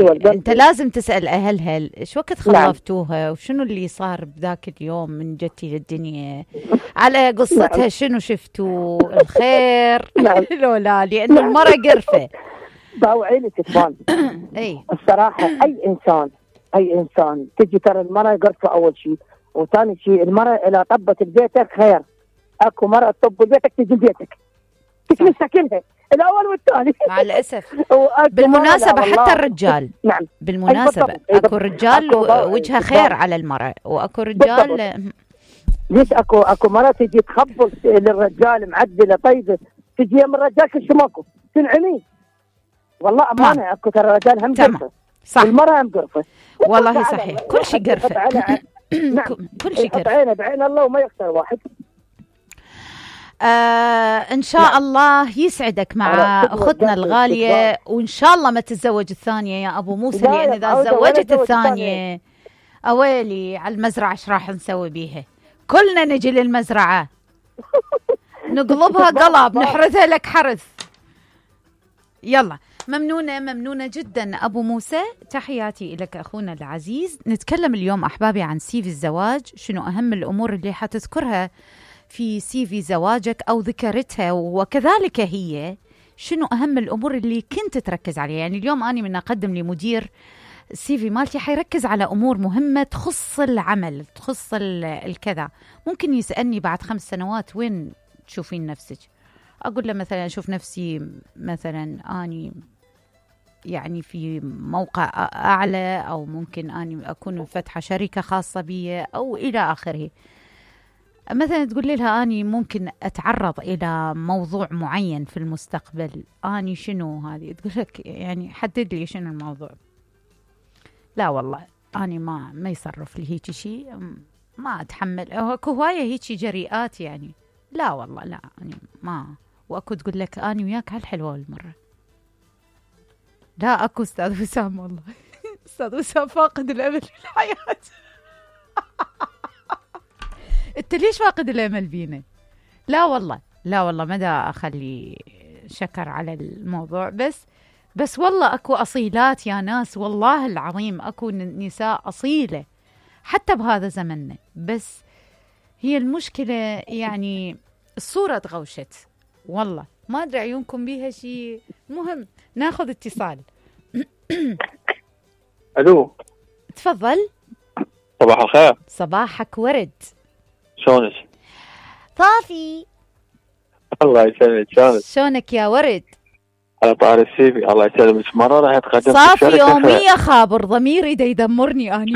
انت لازم تسأل اهلها شو وقت خلفتوها وشنو اللي صار بذاك اليوم من جتي للدنيا، على قصتها شنو شفتوا الخير لو لا، لانه المرأة قرفة باوعيني كثمان. اي الصراحة اي انسان تجي ترى المرأة قرفة اول شيء، وثاني شيء المرأة اذا طبت ببيتك خير. اكو مرأة تطب ببيتك تجي بيتك تمسكنها الاول والثاني مع الاسف. بالمناسبة حتى الرجال، نعم بالمناسبة اكو رجال وجهها خير على المرأة، واكو رجال ليش اكو مرأة تجي تخبص للرجال معدلة طيبة، تجي يم الرجال كل شيء ماكو تنعمي. والله امانة اكو ترى الرجال هم قرفة صح، والمرأة هم قرفة والله صحيح، كل شيء قرفة نعم كل شيء قرفة. عينه بعين الله وما يخسر واحد. ان شاء الله يسعدك مع اختنا الغالية، وان شاء الله ما تتزوج الثانية يا ابو موسى، لان اذا تزوجت الثانية اويلي على المزرعة ايش راح نسوي بيها؟ كلنا نجي للمزرعة نقلبها قلب نحرثها لك حرث. يلا ممنونة جدا أبو موسى، تحياتي لك أخونا العزيز. نتكلم اليوم أحبابي عن سي في الزواج، شنو أهم الأمور اللي حتذكرها في سي في زواجك أو ذكرتها، وكذلك هي شنو أهم الأمور اللي كنت تركز عليها. يعني اليوم أنا من أقدم لمدير السي في مالتي حيركز على أمور مهمة تخص العمل، تخص الكذا. ممكن يسألني بعد 5 سنوات وين تشوفين نفسك؟ أقول له مثلا أشوف نفسي مثلا أني يعني في موقع أعلى، أو ممكن أني أكون فاتحة شركة خاصة بي أو إلى آخره. مثلا تقول لها أني ممكن أتعرض إلى موضوع معين في المستقبل، أني شنو هذه؟ تقول لك يعني حدد لي شنو الموضوع. لا والله أني ما يصرف لي هيك شيء، ما أتحمل. أكو هواية هيك جريئات يعني، لا والله لا يعني ما. واكو تقول لك اني وياك هالحلوه المره. لا اكو استاذ وسام، والله استاذ وسام فاقد الامل في الحياه. انت ليش فاقد الامل بينا؟ لا والله ما دا اخلي شكر على الموضوع، بس والله اكو اصيلات يا ناس، والله العظيم اكو نساء اصيله حتى بهذا زمننا، بس هي المشكله يعني الصوره تغوشت. والله ما ادري عيونكم بيها شيء. مهم ناخذ اتصال. الو تفضل. صباح الخير. صباحك ورد. شلونك؟ طافي. الله يسلمك. شلونك يا ورد؟ على طار السيفي. الله يسلمك. مرة راح تقدم صافي يومية خابر ضميري دا يدمرني اني.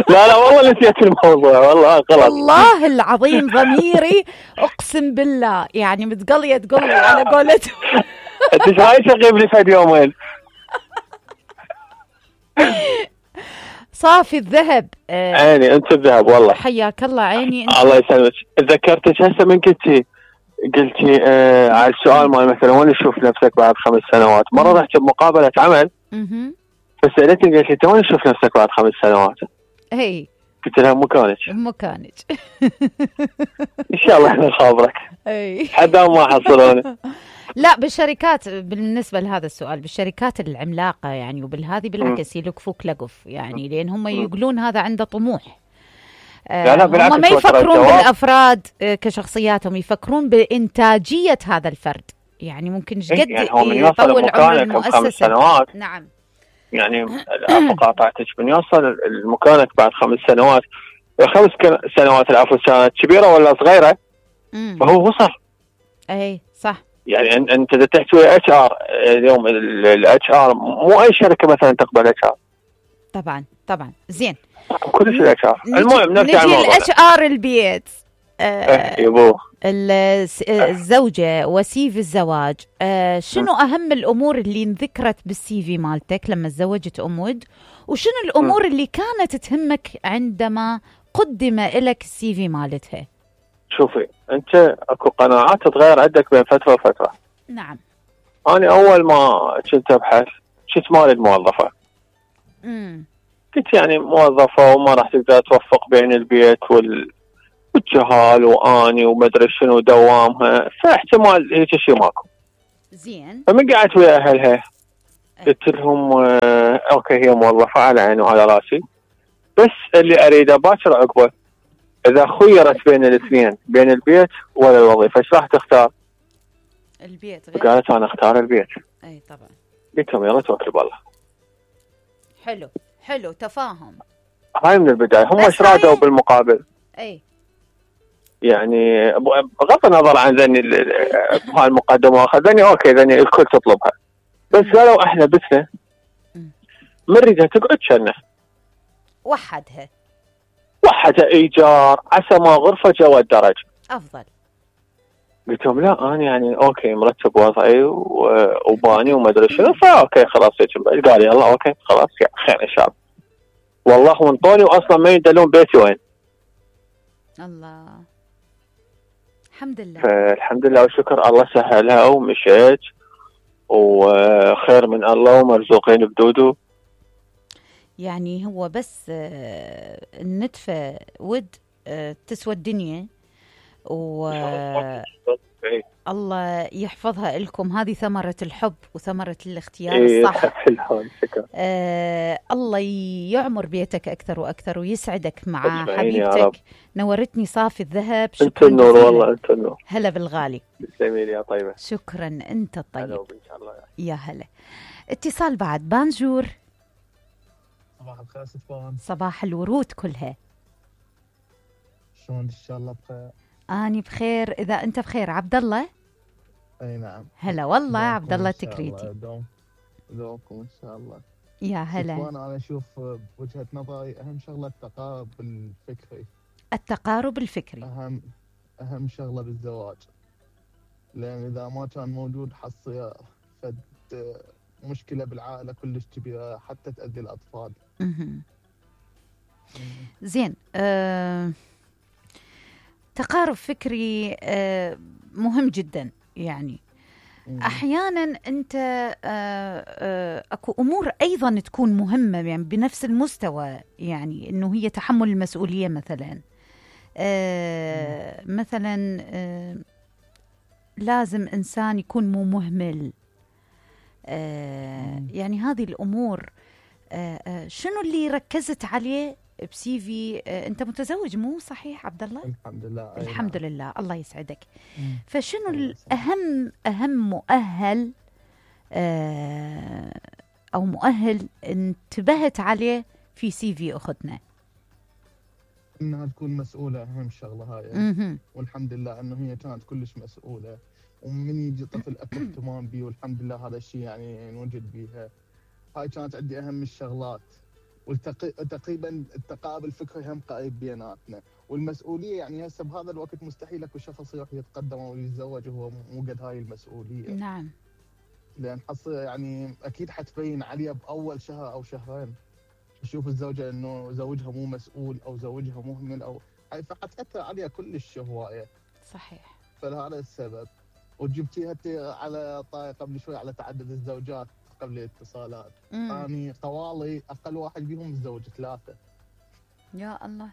لا والله نسيت الموضوع، والله غلط. والله العظيم ضميري اقسم بالله يعني متقليه تقولي على قولته. انت ايش رايك تغيب لي في يومين؟ صافي الذهب. عيني انت الذهب والله. حياك الله عيني انت. الله يسلمك. تذكرتك هسه من قلتي على السؤال مال مثلا وين تشوف نفسك بعد 5 سنوات. مره رحت بمقابله عمل فسالتني قالت لي انت وين تشوف نفسك بعد 5 سنوات؟ هي قلت لها مكانك. ان شاء الله احنا نخابرك. اي حدا ما حصلوني. لا بالشركات، بالنسبه لهذا السؤال بالشركات العملاقه يعني وبالهذه بالعكس يلقفوك لقف يعني، لان هم يقولون هذا عنده طموح. لا هم ما يفكرون بالافراد كشخصياتهم، يفكرون بانتاجيه هذا الفرد. يعني ممكن ايش قد يطول عمر المؤسسه. 5 سنوات. نعم يعني العفو قاطعتك، من يوصل لمكانك بعد 5 سنوات. 5 سنوات العفو كانت كبيره ولا صغيره؟ فهو وصل. اي صح. يعني انت اذا تحكي اتش ار اليوم، الاتش ار مو اي شركه مثلا تقبل اتش ار. طبعا زين كل شيء اتش ار. المهم نرجع للموضوع. نجي الاتش ار البيت. يبوه الزوجة وسي في الزواج. شنو أهم الأمور اللي انذكرت بالسي في مالتك لما تزوجت أم ود، وشنو الأمور اللي كانت تهمك عندما قدم لك السي في مالتها؟ شوفي أنت أكو قناعات تتغير عندك بين فترة وفترة. نعم. أنا أول ما كنت أبحث كنت مالي الموظفة. كنت يعني موظفة وما راح تقدر توفق بين البيت والجهال واني وما ادري شنو دوامها، فاحتمال هيك شيء ماكو. زين. فمن قعدت ويا اهلها قلت لهم اوكي هي موظفه على عيني وعلى راسي، بس اللي اريده باكر عقبه اذا خيرت بين الاثنين، بين البيت ولا الوظيفه، ايش راح تختار؟ البيت غير. قالت انا اختار البيت. اي طبعا. قلت لهم يلا توكل بالله. حلو تفاهم. هاي من البدايه، هم ايش رادوا بالمقابل؟ اي يعني بغض النظر عن ذني هاي المقدمه، ذني اوكي، ذني الكل تطلبها، بس قالوا احنا بثنا ما نريدها تقعد كنا. وحدها ايجار عسى ما غرفه جوا الدرج افضل. قلت لهم لا انا يعني اوكي مرتب وضعي وباني وما ادري شنو، فاوكي خلاص قال يلا اوكي خلاص خير ان شاء الله. والله وانطوني واصلا ما يدلون بيتي وين. الله الحمد لله. فالحمد لله والشكر، الله سهلها ومشيت وخير من الله ومرزوقين بدودو. يعني هو بس النتفة ود تسوى الدنيا، الله يحفظها لكم. هذه ثمرة الحب وثمرة الاختيار الصح. الله يعمر بيتك أكثر وأكثر ويسعدك مع حبيبتك. نورتني صافي الذهب. أنت النور والله، أنت النور. هلا بالغالي. تسلمي يا طيبة. شكرا أنت الطيب. هلا إن شاء الله. يا هلا. اتصال بعد. بانجور. صباح الخير ستفان. صباح الورود كلها. شلون إن شاء الله بخير؟ أني بخير إذا أنت بخير. عبد الله. أي نعم. هلا والله عبد الله تكريتي. دومكم إن شاء الله. يا هلا. أنا أشوف بوجهة نظري أهم شغلة التقارب الفكري. التقارب الفكري أهم شغلة بالزواج، لأن إذا ما كان موجود حصي فد مشكلة بالعائلة كلش كبيرة حتى تأذي الأطفال. زين. تقارب فكري مهم جدا. يعني أحيانا أنت أكو أمور أيضا تكون مهمة يعني بنفس المستوى، يعني أنه هي تحمل المسؤولية مثلا. مثلا لازم إنسان يكون مو مهمل. يعني هذه الأمور. شنو اللي ركزت عليه بسي في؟ أنت متزوج مو صحيح عبد الله؟ الحمد لله. الحمد لله، الله يسعدك. فشنو الأهم مؤهل أو مؤهل انتبهت عليه في سي في أختنا؟ إنها تكون مسؤولة، أهم شغلة هاي. والحمد لله إنه هي كانت كلش مسؤولة، ومن يجي طفل أكو اهتمام بيه، والحمد لله هذا الشيء يعني نوجد بيها. هاي كانت عندي أهم الشغلات. وتقريبا التقارب الفكري هم قريب بيناتنا، والمسؤولية يعني هسه بهذا الوقت مستحيل اكو شخص يروح يتقدم او يتزوج وهو مو قد هاي المسؤولية. نعم. لأن يعني أكيد حتبين عليها بأول شهر أو شهرين، تشوف الزوجة إنه زوجها مو مسؤول أو زوجها مهمل أو فحتأثر عليها كلش هواية. صحيح. فلهذا السبب. وجبتيها على طارق قبل شوي على تعدد الزوجات قبل الاتصالات. يعني طوالي أقل واحد بيهم متزوج 3. يا الله.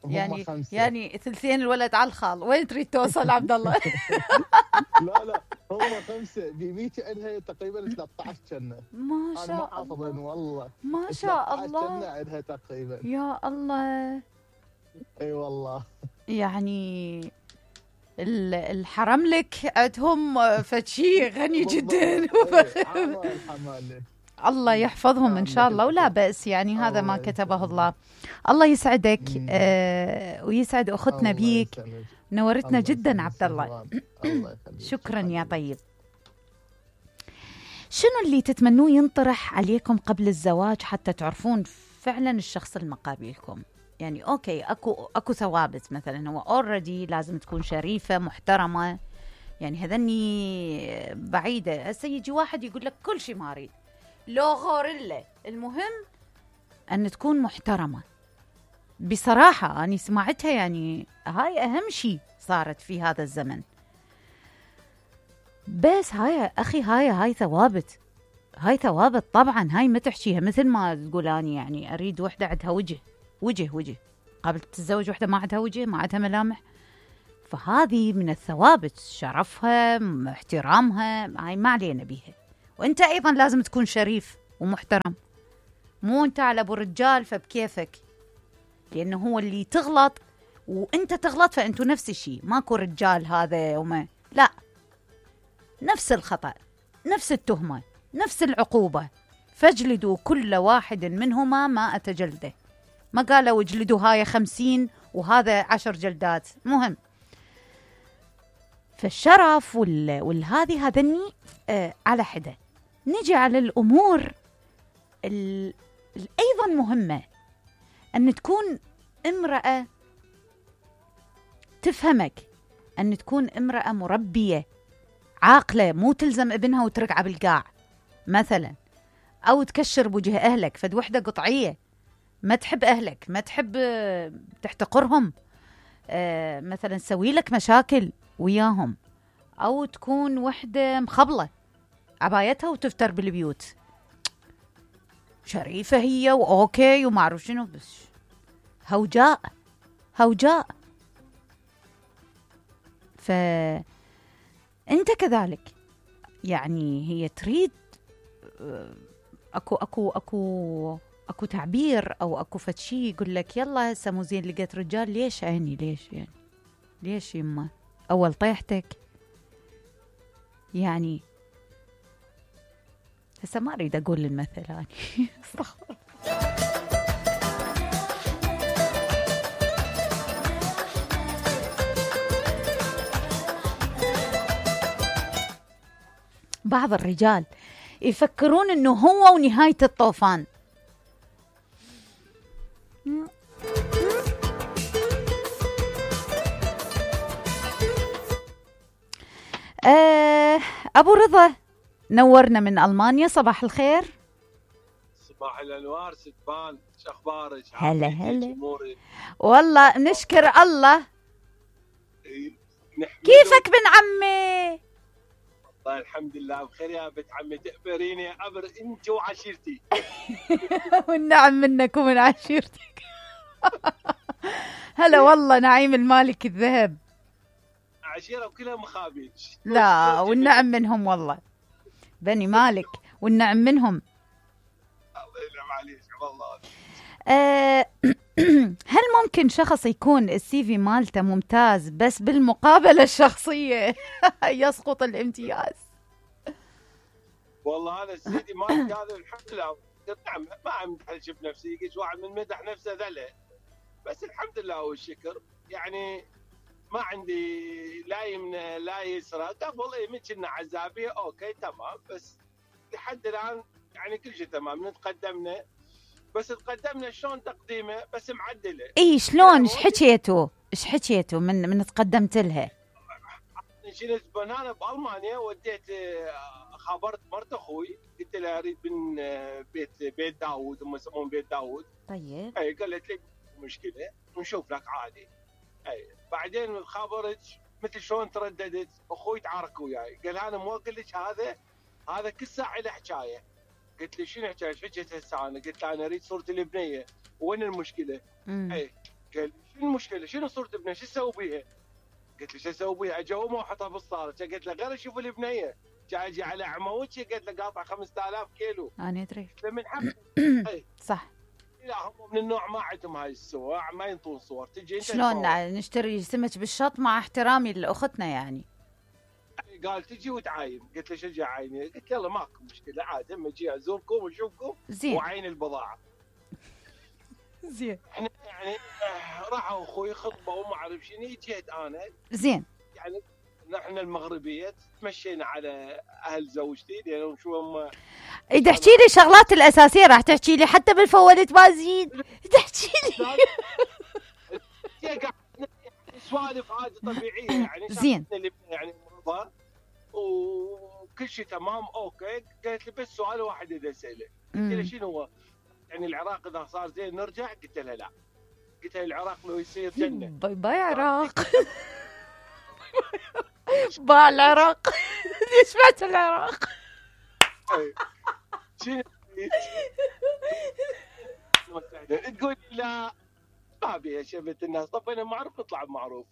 يعني 5. يعني ثلثين الولد على الخال. وين تريد توصل عبد الله؟ لا هم 5. بيميتي عندها تقريبا 13 كنا. ما شاء الله. أنا ما حافظين والله. ما شاء الله. كنا عندها تقريبا. يا الله. اي والله. يعني الحرم لك عندهم فشي غني جدا. الله يحفظهم إن شاء الله، ولا بأس يعني هذا ما كتبه الله. الله يسعدك ويسعد أختنا بيك. نورتنا جدا عبد الله. شكرا يا طيب. شنو اللي تتمنوه ينطرح عليكم قبل الزواج حتى تعرفون فعلا الشخص المقابلكم؟ يعني أوكي أكو ثوابت، مثلا هو أوريدي لازم تكون شريفة محترمة، يعني هذني بعيدة. هسه يجي واحد يقول لك كل شيء ما أريد، لو غوريلا، المهم أن تكون محترمة. بصراحة أنا سمعتها، يعني هاي أهم شيء صارت في هذا الزمن. بس هاي أخي هاي ثوابت، هاي ثوابت طبعا. هاي ما تحشيها مثل ما تقول أنا يعني أريد وحدة عندها وجه قبل تتزوج وحدة ما عندها وجه، ما عندها ملامح. فهذه من الثوابت، شرفها احترامها، هاي ما علينا بيها. وانت ايضا لازم تكون شريف ومحترم، مو انت على ابو رجال فبكيفك، لانه هو اللي تغلط وانت تغلط فانتوا نفس الشيء، ماكو رجال هذا وما لا، نفس الخطأ، نفس التهمة، نفس العقوبة، فاجلدوا كل واحد منهما 100 جلدة. ما قالوا اجلدوا هاي 50 وهذا 10 جلدات، مهم. فالشرف والهذه هذني على حدة. نجي على الأمور أيضا مهمة، أن تكون امرأة تفهمك، أن تكون امرأة مربية عاقلة، مو تلزم ابنها وترقع بالقاع مثلا، أو تكشر بوجه أهلك. فد وحدة قطعية ما تحب أهلك، ما تحب تحتقرهم، مثلا تسوي لك مشاكل وياهم، أو تكون وحدة مخبلة عبايتها وتفتر بالبيوت، شريفة هي وأوكي وما أعرف شنو، بس هوجاء هوجاء. فأنت كذلك، يعني هي تريد اكو تعبير او اكو فتشي يقول لك يلا هسه مو زين لقيت رجال، ليش عيني ليش يعني ليش يما اول طيحتك يعني. هسه ما اريد اقول المثل يعني استغفر. بعض الرجال يفكرون انه هو ونهاية الطوفان. ابو رضا نورنا من المانيا، صباح الخير. صباح الانوار ستبان، شو اخبارك؟ هلا هلا والله نشكر الله. كيفك بن عمي؟ والله الحمد لله بخير يا بنت عمي، تقبريني عبر انت وعشيرتي. والنعم منك ومن عشيرتك. هلا والله نعيم المالك الذهب. عشيرة وكلها مخابيل. لا والنعم منهم والله، بني مالك والنعم منهم. الله يلعب عليك والله. هل ممكن شخص يكون السي في مالته ممتاز بس بالمقابلة الشخصية يسقط الامتياز؟ والله أنا سيدي مالك هذا الحمد لله، نعم ما أمدحش بنفسي، قلت واحد من مدح نفسه ذله، بس الحمد لله والشكر، يعني ما عندي لا يمنى لا يسرى. قبل إيه كنا عزابية أوكي تمام، بس لحد الآن يعني كل شيء تمام، نتقدمنا بس تقدمنا شلون تقديمه بس معدله. اي شلون ايش حكيتوا من تقدمت لها؟ شلت بنانه بالمانيا، وديت خبرت مرت اخوي، قلت لها اريد من بيت داوود، هم يسمون بيت داوود. طيب اي قالت لي مشكله نشوف لك عادي. اي بعدين خبرت مثل شلون ترددت، اخوي تعارك وياي قال انا مو اقول لك هذا كل ساعه له حكايه. قلت لي شنو حكايه؟ حكيت هسه انا قلت له انا اريد صوره البنيه، وين المشكله؟ اي قال شنو المشكله؟ شنو صوره البنيه؟ شو اسوي بيها؟ قلت له شو اسوي بيها؟ اجاوبه واحطها بالصاله، قلت له غير اشوف البنيه، جاي اجي على عموتي قلت له قاطع 5000 كيلو. انا ادري قلت له من حق. صح. لا هم من النوع ما عندهم هاي الصور، ما ينطون صور، تجي انت شلون نشتري سمك بالشط مع احترامي لاختنا يعني. قال تجي وتعاين، قلت له شو اجي عايني؟ قلت يلا ماكو مشكله عادي، اما اجي ازوركم واشوفكم وعين البضاعه. زين. احنا يعني راحوا اخوي خطبه وما اعرف شنو، جيت انا زين يعني نحن المغربيه تمشينا على اهل زوجتي لانهم شو هم. اذا تحكي لي الشغلات الاساسيه راح تحكي لي حتى بالفوالد بازين تحكي لي. سوالف عادي طبيعيه يعني. زين يعني مرضى وكل شيء تمام اوكي. قالت لي بس سؤال واحد اذا اساله. قلت لها شنو هو؟ يعني العراق اذا صار زين نرجع؟ قلت لها لا. قلت لها العراق لو يصير جنه. باي باي عراق. باع العراق. ليش بعت العراق؟ شنو تقول لا ما ابي يا شبت الناس، طبينا معروف نطلع بمعروف.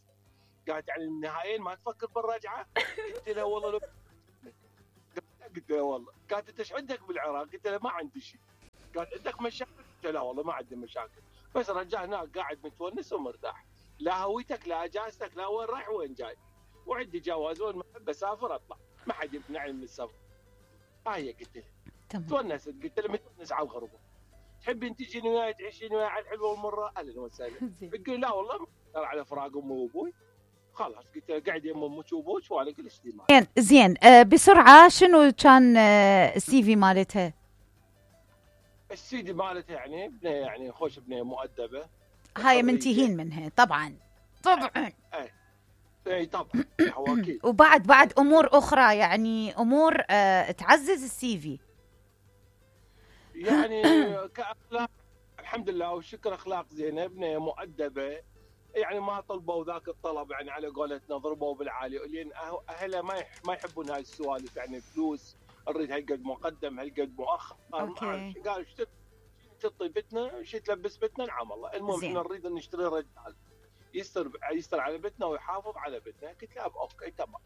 قالت يعني النهائيين ما تفكر بالرجعه؟ قلت لها والله لو قلت له والله. قالت انت ايش عندك بالعراق؟ قلت له ما عندي شيء. قالت عندك مشاكل؟ قلت له لا والله ما عندي مشاكل، بس رجع هناك قاعد متونس ومرتاح، لا هويتك لا اجازتك لا وين رايح وين جاي، وعندي جواز وين ما احب اسافر اطلع، ما حد يمنعني من السفر. هاي قلت له تونست، قلت له متونس على الغربه، تحبين تجين وياي تعيشين وياي على الحلوه والمره؟ اهلا وسهلا. يقول لا والله ما على فراق امي وابوي، خلاص. قلت له قاعد يم امك وابوك وانا كل شيء معي. زين بسرعه شنو كان السي في مالتها؟ السي في مالتها يعني بنيه، يعني خوش بنيه مؤدبه، هاي منتهين منها طبعا اي طبعا هو اكيد. وبعد امور اخرى، يعني امور تعزز السي في، يعني كاخلاق الحمد لله والشكر، اخلاق زينه، بنيه مؤدبه، يعني ما طلبوا ذاك الطلب يعني على قولتنا ضربوا بالعالي، لان اهلها ما يحبون هاي السوالف، يعني فلوس نريد هالقد مقدم هالقد مؤخر، قالوا ايش تطي بتنا، ايش تلبس بتنا، نعم الله، المهم احنا نريد ان نشتري رجال يستر على بتنا ويحافظ على بتنا. قلت له اوكي تمام.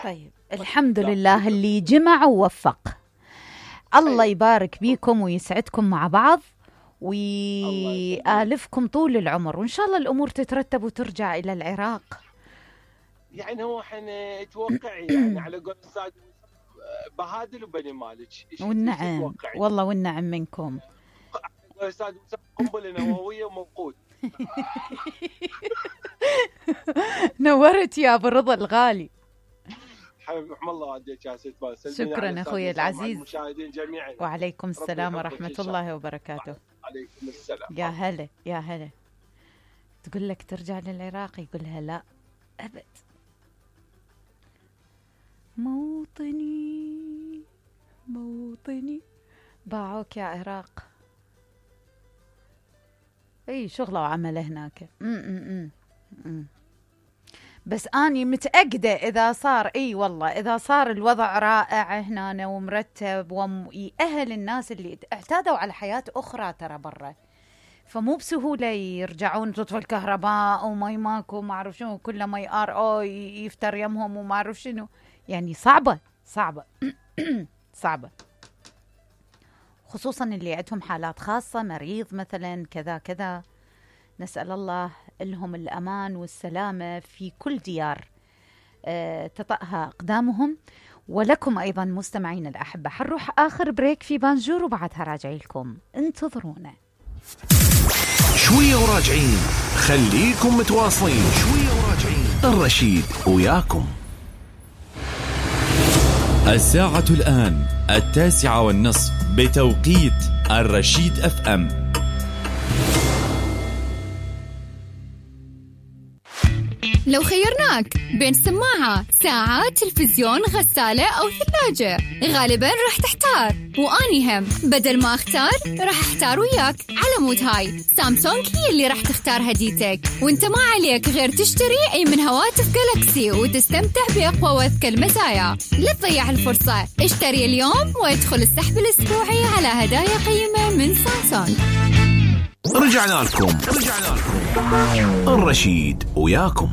طيب الحمد لله اللي جمع ووفق. الله يبارك بيكم ويسعدكم مع بعض ويآلفكم طول العمر، وإن شاء الله الأمور تترتب وترجع إلى العراق. يعني هو احنا توقعي يعني على قول الأستاذ بهادل وبني مالك. والنعم والله والنعم منكم. الأستاذ قنبلة نووية وموقود. نورت يا أبو رضا الغالي. حبيبي رحم الله والديك يا ست باسل. شكرا أخوي العزيز. المشاهدين جميعا. وعليكم السلام ورحمة الله وبركاته. عليكم السلام. يا هلا يا هلا. تقول لك ترجع للعراق، يقولها لا أبد. موطني باعوك يا عراق. اي شغله وعمله هناك. بس اني متاكده اذا صار والله اذا صار الوضع رائع هنا ومرتب ويأهل الناس اللي اعتادوا على حياه اخرى ترى برا، فمو بسهوله يرجعون تطفى الكهرباء وماي ماكو ما اعرف شنو، كله ماي ار يفتر يمهم وما اعرف شنو، يعني صعبه صعبه، خصوصا اللي عندهم حالات خاصه، مريض مثلا كذا. نسأل الله لهم الأمان والسلامة في كل ديار تطأها أقدامهم، ولكم أيضا مستمعين الأحبة. حنروح آخر بريك في بانجور وبعدها راجعي لكم، انتظرونا شوية وراجعين، خليكم متواصلين. شوية وراجعين، الرشيد وياكم. الساعة الآن 9:30 بتوقيت الرشيد FM. لو خيرناك بين سماعة، ساعة، تلفزيون، غسالة أو ثلاجة، غالباً راح تحتار، وأني هم بدل ما أختار راح أحتار وياك. على مود هاي سامسونج هي اللي راح تختار هديتك، وانت ما عليك غير تشتري أي من هواتف جالاكسي وتستمتع بأقوى وأذكى المزايا. لا تضيع الفرصة، اشتري اليوم وادخل السحب الأسبوعي على هدايا قيمة من سامسونج. رجعنا لكم الرشيد وياكم.